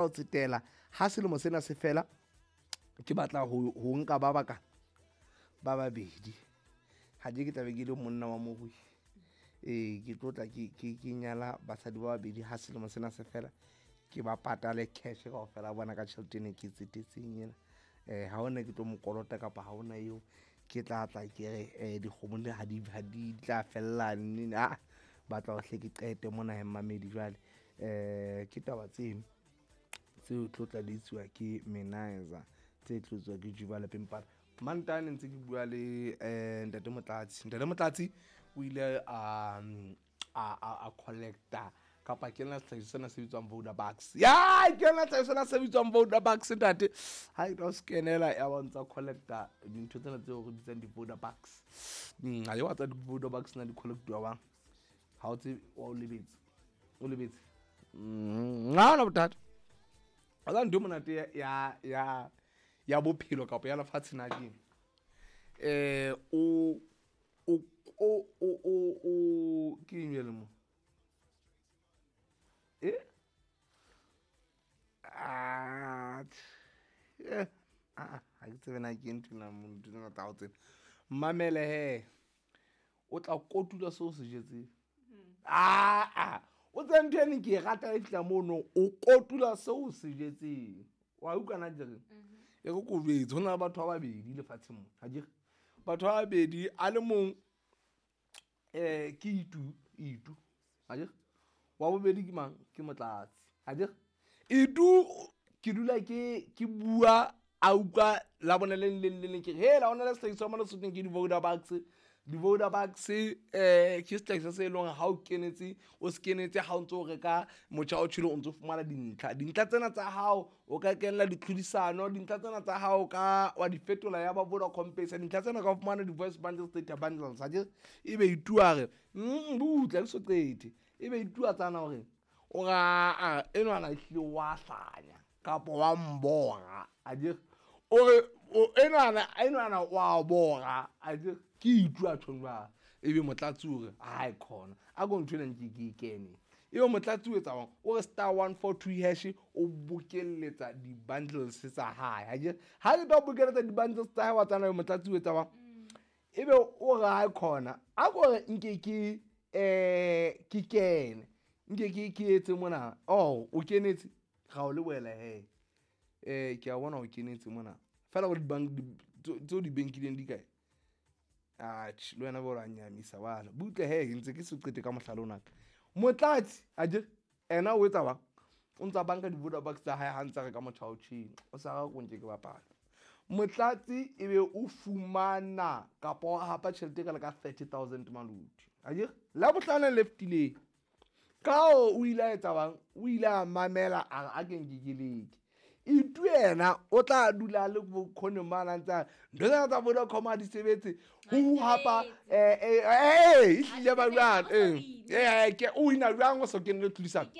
Ho tsetela ha selemo sena se fela, ke batla ho nka ba baka ba babedi. Ha ke tla be ke le monna wa morui. Ee, ke tlo tla ke nyala basadi ba babedi ha selemo sena se fela, ke ba patale cash kaofela bona ka tjhelete ene ke tsetetseng ena. Ha hona ke tlo mo kolota kapa ha hona eo ke tla tla ke re dikgomo le ha di ha di tla fella neng, a batla ho hle ke qete mona he mmamedi jwale. Ke taba tseno tseo tlo tla di etsiwa ke Menizer, tse tlo etsuwa ke Juba lapeng pala. Mantane ntse ke bua le Ntate Motlatsi. Ntate Motlatsi o ile a collecta kapa ke nna sehlahiswa sena se bitswang Vodabucks. Ya, ke nna sehlahiswa sena se bitswang Vodabucks ntate. Ha e tla skenela ya ba ntsa collecta dintho tsena tseo re bitsang di-Vodabucks. Ha e wa tsa di-Vodabucks na di collectiwa bang. Ha o tsebe, wa o lebetse. O lebetse. Ha hona bothata. Wa tseba ntho e monate ya bophelo kapa ya lefatshe na ke eng? O o o o o o ke eng jwale mo? Eh? Ah, ah, ha ke tsebe na ke ntho ena mo, ntho tsena tsa hao tsena. Mamele he. O tla kotula seo se jetseng. Ah, o tsebe ntho ene ke e rata e fihla mono, o kotula seo se jetseng. Wa utlwa na ke reng? E re ko jwetse, ho na le batho ba babedi lefatsheng mona. Ha ke re? Batho ba babedi, a le mong ke Itu, Itu. Ha ke re? Wa bobedi ke mang? Ke Motlatsi. Ha ke re? Itu ke dula ke bua a utlwa la bone le leng le leng ke re, hela ho na le sehlahiswa mona Sothong ke di-Vodabucks. Di-Vodabucks ke sehlahiswa se leng hore ha o kenetse, o se kenetse ha o ntso reka motjha o tjhele o ntso fumana dintlha. Dintlha tsena tsa hao o ka kenela ditlhodisano, dintlha tsena tsa hao ka wa di fetola ya ba Vodacom Pesa, dintlha tsena ka fumana di-voice bundles, data bundles. Ha ke re? Ebe Itu a re, butla ke so qete. Ebe Itu a tsana hore o ra, a, enwana ehlile wa hlanya kapa wa mbora. A ke re? O re, o, enwana, enwana wa bora. A ke re? Ke Itu a tjhong jwalo. Ebe Motlatsi o re, hai khona. A ko ntho ena nke ke e kene. Ebe Motlatsi o etsa jwang? O re star 142 hash, o bokelletsa di-bundles tsa hae. Ha ke re? Ha ke tlo bokelletsa di-bundles tsa hae, wa tsana ebe Motlatsi o etsa jwang? Ebe o re, hai khona. A ko re nke ke, ke kene. Nke ke etse mona. Oh, o kenetse. Ra o lebohela he. Ke a bona o kenetse mona. Feela bo di-bank, di, tseo di bankileng di kae? Atjhe, le wena bo ra nyamisa bana. Butle he, ke ntse ke se qete ka mohlala ona. Motlatsi, a je, ena o etsa bang? O ntsa banka di-Vodabucks tsa hae ha ntsa reka motjha o tjheng. O sa ra ko nke ke bapala. Motlatsi ebe o fumana kapa o hapa tjhelete ka le ka 30,000 maluti. A je, la bohlano le fetileng. Ka o ile a etsa bang? O ile a mamela a re a ke nke ke leke. Itu yena o tla dula le bokgoni mane a ntse a ntho tsena tsa Vodacom ha di sebetse. Ho hapa, ehlile ba jwang? Ke o wina jwang o so kenele tlhodisano?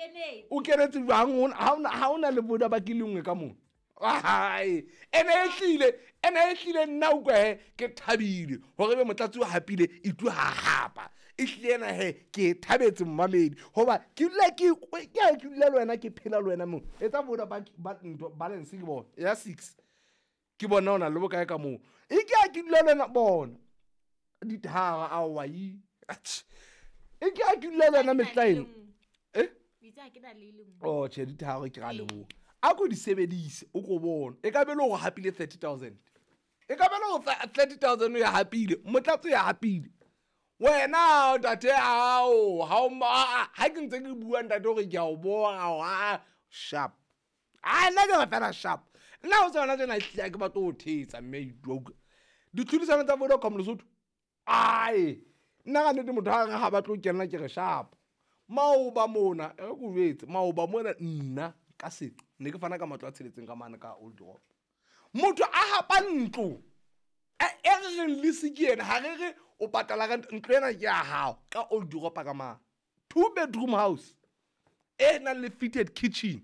O kenetse jwang? Ha ona le Vodabucks le nngwe ka moo. Ai, ene ehlile, ene ehlile nna utlwa he, ke thabile hore ebe Motlatsi o hapile, Itu ha hapa. Ehlile ena he, ke thabetse mmamedi. Hoba ke dula ke, ke ha ke dula le wena, ke phela le wena moo. Etsa Vodabucks ba ntho balance ke bona ya 6. Ke bona o na le bokae ka moo. E ke ha ke dula le wena bona. Dithara a wa yi. Atjhe. E ke ha ke dula le wena mehla eno. Eh? Oh, tjhe, ditharo ke ra leboha. A ko di sebedise, o ko bone. E ka be le hore hapile 30,000. E ka be le hore 30,000 o ya hapile, Motlatsi o ya hapile. Wena ntate hao, ha o ma-, a, ha ke ntse ke bua ntate hore ke a o bora, a, sharp. A, nna ke re fela sharp. Nna ho tsona tsena ehlile ha ke batle ho thetsa mme Itu a utlwa. Ditlhodisano tsa Vodacom Lesotho. Ai, nna ka nnete motho ha re ha batle ho kenela ke re sharp. Maoba mona, e re ke o jwetse, maoba mona nna ka seqo ne ke fana ka matlo a tsheletseng ka mane ka Old Rock. Motho a hapa ntlo, e re reng lease ke ena, ha re re o patala rent, ntlo ena ke ya hao ka Old Rock ka mane. 2 bedroom house e nang le fitted kitchen,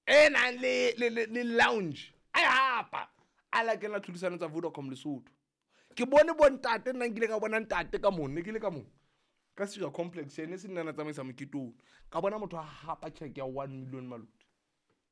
e nang le lounge. A e hapa, a la kena tlhodisano tsa Vodacom Lesotho. Ke bone bo ntate, nna nkile ka bona ntate ka moo, ne ke le ka moo. Ka Sira Complex, ene se nna na tsamaisa mokete ono. Ka bona motho a hapa tjheke ya 1 million maluti.